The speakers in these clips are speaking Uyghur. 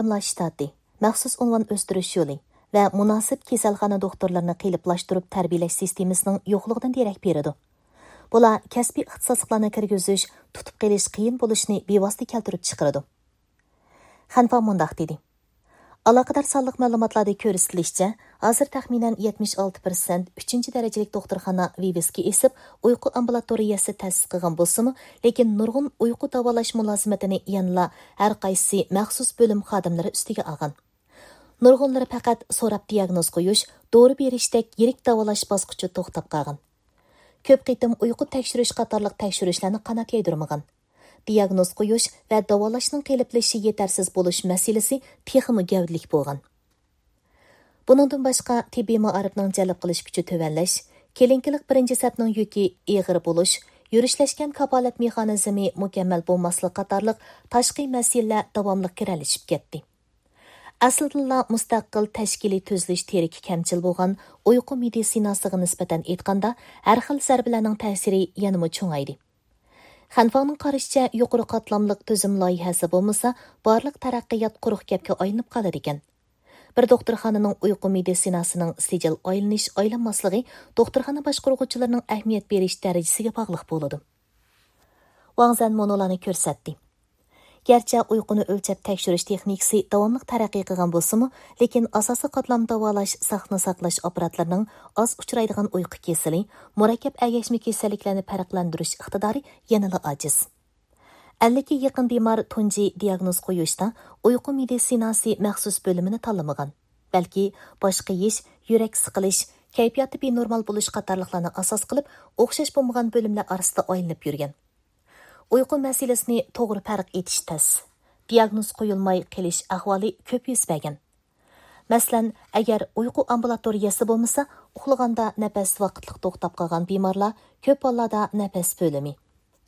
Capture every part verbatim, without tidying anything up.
ئايرىملار شتاتى، مەخسۇس ئۇنۋان ئۆستۈرۈش يولى ۋە مۇناسىپ كېسەلخانا دوختۇرلىرىنى قېلىپلاشتۇرۇپ تەربىيەلەش سىستېمىسىنىڭ يوقلۇقىدىن دېرەك بېرىدۇ. بۇلار كەسپىي ئىختىساسلىقلارنى كىرگۈزۈش، تۇتۇپ قېلىش قىيىن بولۇشىنى بىۋاسىتە كەلتۈرۈپ چىقىرىدۇ. خەنفاڭ مۇنداق دېدى. ئالاقىدار سانلىق مەلۇماتلاردا كۆرسىتىلىشىچە، ھازىر تەخمىنەن يەتمىش ئالتە پىرسەنت ئۈچىنچى دەرىجىلىك دوختۇرخانا ۋىۋىسكا ئېسىپ، ئۇيقۇ ئامبۇلاتورىيەسى تەسىس قىلغان بولسىمۇ، لېكىن نۇرغۇن ئۇيقۇ داۋالاش مۇلازىمىتىنى يەنىلا ھەر قايسى مەخسۇس بۆلۈم خادىملىرى ئۈستىگە ئالغان. نۇرغۇنلىرى پەقەت سوراپ دىياگنوز قويۇش، دورا بېرىشتەك يىرىك داۋالاش باسقۇچىدا توختاپ قالغان. كۆپ قېتىم ئۇيقۇ تەكشۈرۈش قاتارلىق تەكشۈرۈشلەرنى قانات يايدۇرمىغان. دىياگنوز قويۇش ۋە داۋالاشنىڭ قېلىپلىشىشى يېتەرسىز بولۇش مەسىلىسى تېخىمۇ گەۋدىلىك بولغان. بۇنىڭدىن باشقا، تېببىي مائارىپنىڭ جەلپ قىلىش كۈچى تۆۋەنلەش، كېلىنكىلىق بىرىنچى سەپنىڭ يۈكى ئېغىر بولۇش، يۈرۈشلەشكەن كاپالەت مېخانىزمى مۇكەممەل بولماسلىق قاتارلىق تاشقى مەسىلىلەر داۋاملىق گىرەلىشىپ كەتتى. ئەسلىدىنلا مۇستەقىل تەشكىلىي تۈزۈلۈش تىرىكى كەمچىل بولغان ئۇيقۇ مېدىتسىناسىغا نىسبەتەن ئېيتقاندا، ھەر خىل زەربىلەرنىڭ تەسىرى يەنىمۇ چوڭايدى. خەنفاڭنىڭ قارىشىچە، يۇقىرى قاتلاملىق تۈزۈم لايىھەسى بولمىسا، بارلىق تەرەققىيات قۇرۇق گەپكە ئايلىنىپ قالىدىكەن. بىر دوختۇرخانىنىڭ ئۇيقۇ مېدىتسىناسىنىڭ سىجىل ئايلىنىش-ئايلانماسلىقى دوختۇرخانا باشقۇرغۇچىلىرىنىڭ ئەھمىيەت بېرىش دەرىجىسىگە باغلىق بولىدۇ. ۋاڭ زەن مۇنۇلارنى كۆرسەتتى. گەرچە ئۇيقۇنى ئۆلچەپ تەكشۈرۈش تېخنىكىسى داۋاملىق تەرەققىي قىلغان بولسىمۇ، لېكىن ئاساسىي قاتلام داۋالاش، ساقنى ساقلاش ئاپپاراتلىرىنىڭ ئاز ئۇچرايدىغان ئۇيقۇ كېسىلى، مۇرەككەپ ئەگەشمە كېسەللىكلەرنى پەرقلەندۈرۈش ئىقتىدارى يەنىلا ئاجىز. ئەللىككە يېقىن بىمار تۇنجى دىياگنوز قويۇشتا ئۇيقۇ مېدىتسىناسى مەخسۇس بۆلۈمىنى تاللىمىغان، بەلكى باش قېيىش، يۈرەك سىقىلىش، كەيپىياتى بىنورمال بولۇش قاتارلىقلارنى ئاساس قىلىپ، ئوخشاش بولمىغان بۆلۈملەر ئارىسىدا ئايلىنىپ يۈرگەن. ئۇيقۇ مەسىلىسىنى توغرا پەرق ئېتىش تەس. دىياگنوز قويۇلماي قېلىش ئەھۋالى كۆپ يۈز بەرگەن. مەسىلەن، ئەگەر ئۇيقۇ ئامبۇلاتورىيەسى بولمىسا، ئۇخلىغاندا نەپەس ۋاقىتلىق توختاپ قالغان بىمارلار كۆپ ھاللاردا نەپەس بۆلۈمى،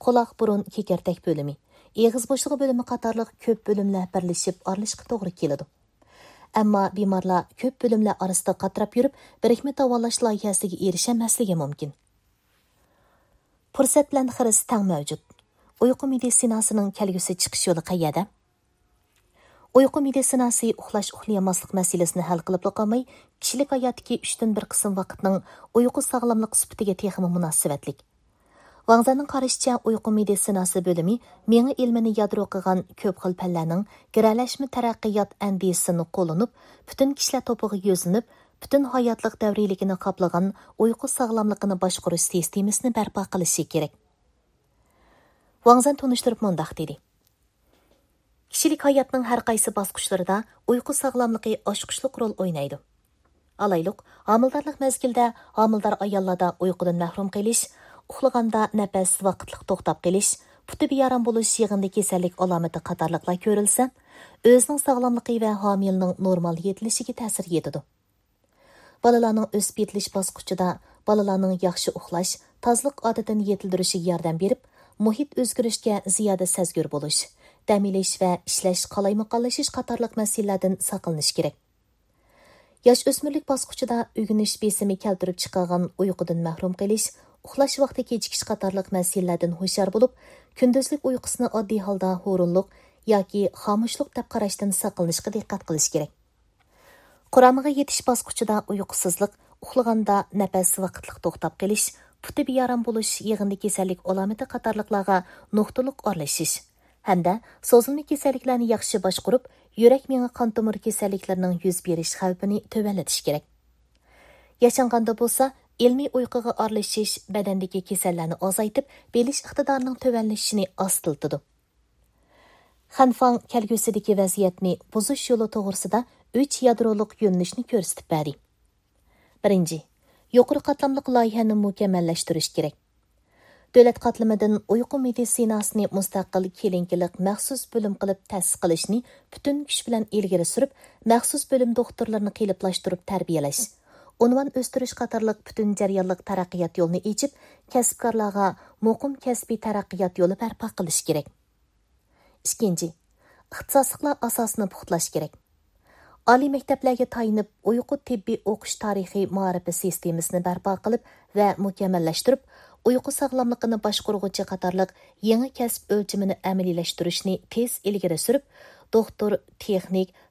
قۇلاق، بۇرۇن، كېكىرتەك بۆلۈمى، ئېغىز بوشلۇقى بۆلۈمى قاتارلىق كۆپ بۆلۈملەر بىرلىشىپ ئارىلىشىشقا توغرا كېلىدۇ. ئەمما بىمارلار كۆپ بۆلۈملەر ئارىسىدا قاتراپ يۈرۈپ، بىرىكمە داۋالاش لايىھەسىگە ئېرىشەلمەسلىكى مۇمكىن. پۇرسەت بىلەن خىرىس تەڭ مەۋجۇت. ئۇيقۇ مېدىتسىناسىنىڭ كەلگۈسى چىقىش يولى قەيەردە؟ ئۇيقۇ مېدىتسىناسى ئۇخلاش-ئۇخلىيالماسلىق مەسىلىسىنى ھەل قىلىپلا قالماي، كىشىلىك ھاياتتىكى ئۈچتىن بىر قىسىم ۋاقىتنىڭ ئۇيقۇ ساغلاملىقى سۈپىتىگە تېخىمۇ مۇناسىۋەتلىك. ۋاڭ زەننىڭ قارىشىچە، ئۇيقۇ مېدىتسىناسى بۆلۈمى مېڭە ئىلمىنى يادرو قىلغان كۆپ خىل پەنلەرنىڭ گىرەلەشمە تەرەققىيات ئەندىزىسىنى قوللىنىپ، پۈتۈن كىشىلەر توپىغا يۈزلىنىپ، پۈتۈن ھاياتلىق دەۋرىيلىكىنى قاپلىغان ئۇيقۇ ساغلاملىقىنى باشقۇرۇش سىستېمىسىنى بەرپا قىلىشى كېرەك. ۋاڭ زەن تونۇشتۇرۇپ مۇنداق دېدى. كىشىلىك ھاياتنىڭ ھەر قايسى باسقۇچلىرىدا ئۇيقۇ ساغلاملىقى ئاچقۇچلۇق رول ئوينايدۇ. ئالايلۇق، ھامىلىدارلىق مەزگىلىدە ھامىلىدار ئاياللاردا ئۇيقۇدىن مەھرۇم قېلىش، ئۇخلىغاندا نەپەس ۋاقىتلىق توختاپ قېلىش، پۇتى بىئارام بولۇش يىغىندى كېسەللىك ئالامىتى قاتارلىقلار كۆرۈلسە، ئۆزىنىڭ ساغلاملىقى ۋە ھامىلىنىڭ نورمال يېتىلىشىگە تەسىر يېتىدۇ. بالىلارنىڭ ئۆسۈپ يېتىلىش باسقۇچىدا بالىلارنىڭ ياخشى ئۇخلاش، تازىلىق ئادىتىنى يېتىلدۈرۈشىگە ياردەم بېرىپ، مۇھىت ئۆزگىرىشكە زىيادە سەزگۈر بولۇش، دەم ئېلىش ۋە ئىشلەش قالايمىقانلىشىش قاتارلىق مەسىلىلەردىن ساقلىنىش كېرەك. ياش ئۆسمۈرلۈك باسقۇچىدا ئۆگىنىش بېسىمى كەلتۈرۈپ چىقارغان ئۇيقۇدىن مەھرۇم قېلىش، ئۇخلاش ۋاقتى كېچىكىش قاتارلىق مەسىلىلەردىن ھوشيار بولۇپ، كۈندۈزلۈك ئۇيقۇسىنى ئاددىي ھالدا ھۇرۇنلۇق ياكى خامۇشلۇق دەپ قاراشتىن ساقلىنىشقا دىققەت قىلىش كېرەك. قۇرامىغا يېتىش باسقۇچىدا ئۇيقۇسىزلىق، ئۇخلىغاندا نەپەس ۋاقىتلىق توختاپ قېلىش، پۇتى بىئارام بولۇش يىغىندى كېسەللىك ئالامىتى قاتارلىقلارغا نۇقتىلىق ئارىلىشىش ھەمدە سوزۇلما كېسەللىكلەرنى ياخشى باشقۇرۇپ، يۈرەك مېڭە قان تومۇر كېسەللىكلىرىنىڭ يۈز بېرىش خەۋپىنى تۆۋەنلىتىش كېرەك. ياشانغاندا بولسا، ئىلمىي ئۇيقۇغا ئارىلىشىش بەدەندىكى كېسەللەرنى ئازايتىپ، بىلىش ئىقتىدارىنىڭ تۆۋەنلىشىشىنى ئاستىلىتىدۇ. خەنفاڭ كەلگۈسىدىكى ۋەزىيەتنى بۇزۇش يولى توغرىسىدا ئۈچ يادرولۇق يۆنىلىشنى كۆرسىتىپ بەردى. بىرىنچى، يۇقىرى قاتلاملىق لايىھەنى مۇكەممەللەشتۈرۈش كېرەك. دۆلەت قاتلىمىدىن ئۇيقۇ مېدىتسىناسىنى مۇستەقىل كلىنىكىلىق مەخسۇس بۆلۈم قىلىپ تەسىس قىلىشنى پۈتۈن كۈچ بىلەن ئىلگىرى سۈرۈپ، مەخسۇس بۆلۈم دوختۇرلىرىنى قېلىپلاشتۇرۇپ تەربىيەلەش، ئۇنۋان ئۆستۈرۈش قاتارلىق پۈتۈن جەريانلىق تەرەققىيات يولىنى ئېچىپ، كەسىپكارلارغا مۇقىم كەسپىي تەرەققىيات يولى بەرپا قىلىش كېرەك. ئىككىنچى، ئىختىساسلىقلار ئاساسىنى پۇختىلاش كېرەك. ئالىي مەكتەپلەرگە تايىنىپ، ئۇيقۇ تېببىي ئوقۇش تارىخىي مائارىپى سىستېمىسىنى بەرپا قىلىپ ۋە مۇكەممەللەشتۈرۈپ، ئۇيقۇ ساغلاملىقىنى باشقۇرغۇچى قاتارلىق يېڭى كەسىپ ئۆلچىمىنى ئەمەلىيلەشتۈرۈشنى تېز ئىلگىرى سۈرۈپ، دوختۇر، تېخنىك،